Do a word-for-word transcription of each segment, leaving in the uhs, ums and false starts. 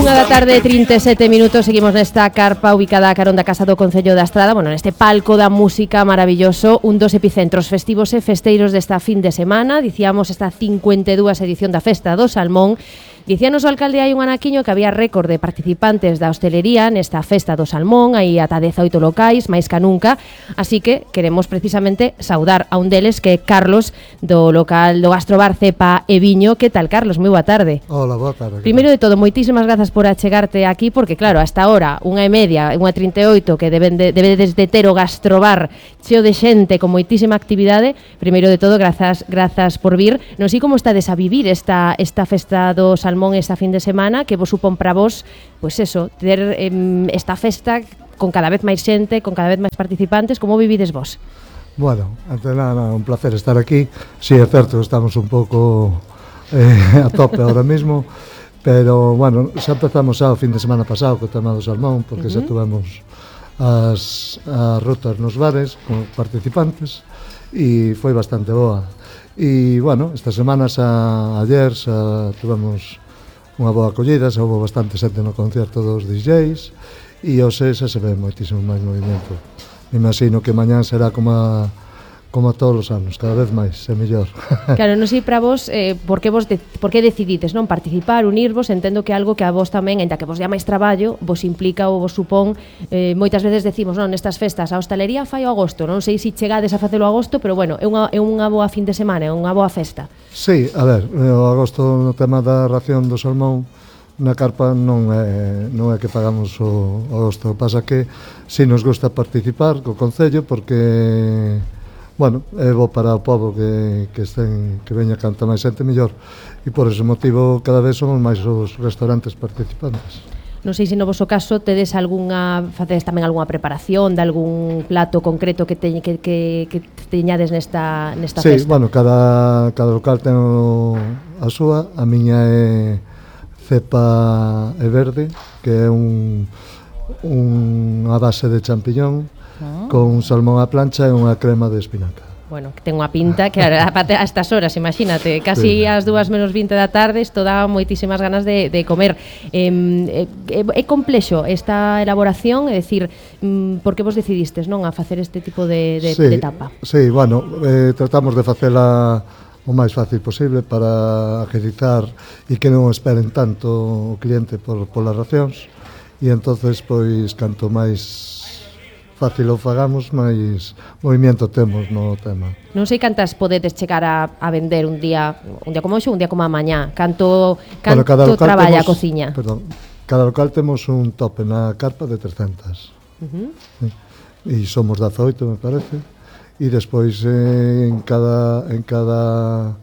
Unha da tarde, trinta e sete minutos. Seguimos nesta carpa ubicada a carón da Casa do Concello da Estrada. Bueno, neste palco da música maravilloso, un dos epicentros festivos e festeiros desta fin de semana. Dicíamos esta cincuenta e dúas edición da Festa do Salmón. Dicíanos o alcalde hai un anaquiño que había récord de participantes da hostelería nesta Festa do Salmón, hai ata dezaoito locais, máis ca nunca, así que queremos precisamente saudar a un deles que é Carlos, do local do Gastrobar Cepa e Viño. Que tal, Carlos? Moi boa tarde. Hola, boa tarde. Primeiro de todo, moitísimas grazas por achegarte aquí, porque claro, hasta ahora, unha e media, unha trinta e oito, que deben de, debedes de ter o Gastrobar cheo de xente, con moitísima actividade. Primeiro de todo, grazas, grazas por vir. Non sei como estades a vivir esta, esta Festa do Salmón esta fin de semana, que vos supón para vos, pois pues eso, ter eh, esta festa con cada vez máis xente, con cada vez máis participantes. Como vivides vos? Bueno, ante nada, un placer estar aquí. Sí, é certo, estamos un pouco eh, a tope ahora mismo, pero, bueno, xa empezamos xa o fin de semana pasado co tema do Salmón, porque uh-huh. xa tuvemos as, as rutas nos bares con participantes e foi bastante boa. E, bueno, esta semana xa ayer xa tuvemos unha boa acollida, xa houve bastante xente no concerto dos D Js e hoxe xa se ve moitísimo máis movimento. Me imagino que mañán será como a, como a todos os anos, cada vez máis, é mellor. Claro, non sei para vos, eh, por que vos de, por que decidides non participar, unirvos. Entendo que algo que a vos tamén, ainda que vos dea máis traballo, vos implica ou vos supón, eh, moitas veces decimos, non, nestas festas, a hostalería fai o agosto, non sei se chegades a facelo agosto, pero bueno, é unha, é unha boa fin de semana, é unha boa festa. Sí, a ver, o agosto no tema da ración do salmón na carpa non é, non é que pagamos o, o agosto, pasa que si nos gusta participar co Concello porque, bueno, é bo para o povo que, que, estén, que veña canta máis xente mellor, e por ese motivo cada vez somos máis os restaurantes participantes. Non sei se no vosso caso tedes algunha, facedes tamén algunha preparación de algún plato concreto que, te, que, que, que teñades nesta, nesta sí, festa. Sí, bueno, cada, cada local ten o, a súa, a miña é cepa e verde, que é un, un a base de champiñón, ah. con un salmón á plancha e unha crema de espinaca. Bueno, que ten unha pinta que a, a estas horas, imagínate, casi sí. As dúas menos vinte da tarde, isto dá moitísimas ganas de, de comer. Eh, é, é complexo esta elaboración, é dicir, mm, por que vos decidistes, non, a facer este tipo de, de, sí, de tapa? Sí, bueno, eh, tratamos de facela o máis fácil posible para agilizar e que non esperen tanto o cliente por, por las racións, e entonces, pois, canto máis fácil o fagamos, máis movimento temos no tema. Non sei cantas podedes chegar a, a vender un día, un día como hoxe, un día como a mañá. Canto, canto bueno, traballa temos, a cociña? Perdón, cada local temos un tope na carpa de trescentas. Uh-huh. Sí. E somos dezaoito, me parece. E despois eh, en cada en cada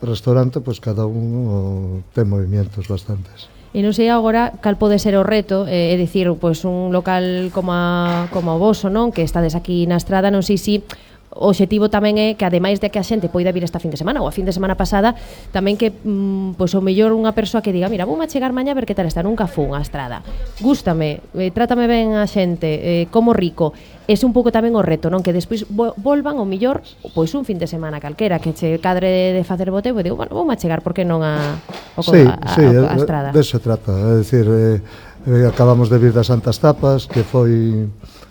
restaurante, pois cada un ten movimientos bastantes. E non sei agora cal pode ser o reto, eh, é dicir, pois un local como a, como o voso, non, que estades aquí na Estrada, non sei se o obxectivo tamén é que, ademais de que a xente poida vir esta fin de semana ou a fin de semana pasada, tamén que, mm, pois o mellor unha persoa que diga, mira, vou a chegar mañá a ver que tal está, nunca fun a Estrada, gústame, eh, trátame ben a xente, eh, como rico. Ese un pouco tamén o reto, non, que despois volvan o mellor, pois un fin de semana calquera que che cadre de facer boteo, e digo, bueno, vou a chegar, por que non a, o, sí, a, sí, a, a Estrada. De eso se trata, é dicir, eh, eh, acabamos de vir das Santas Tapas, que foi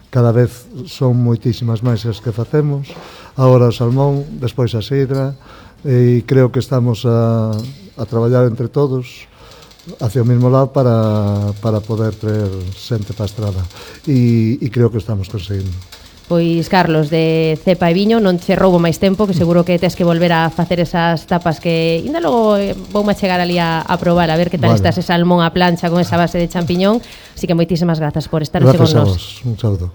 cada vez son moitísimas máis as que facemos, agora o salmón, despois a sidra, e creo que estamos a, a traballar entre todos hacia o mesmo lado para, para poder traer xente para a Estrada, e, e creo que estamos conseguindo. Pois, Carlos, de Cepa e Viño, non che roubo máis tempo, que seguro que tes que volver a facer esas tapas que ainda logo eh, vou a chegar ali a, a probar, a ver que tal vale. Está ese salmón a plancha con esa base de champiñón, así que moitísimas grazas por estar hoxe con nós. Gracias a vos, un saúdo.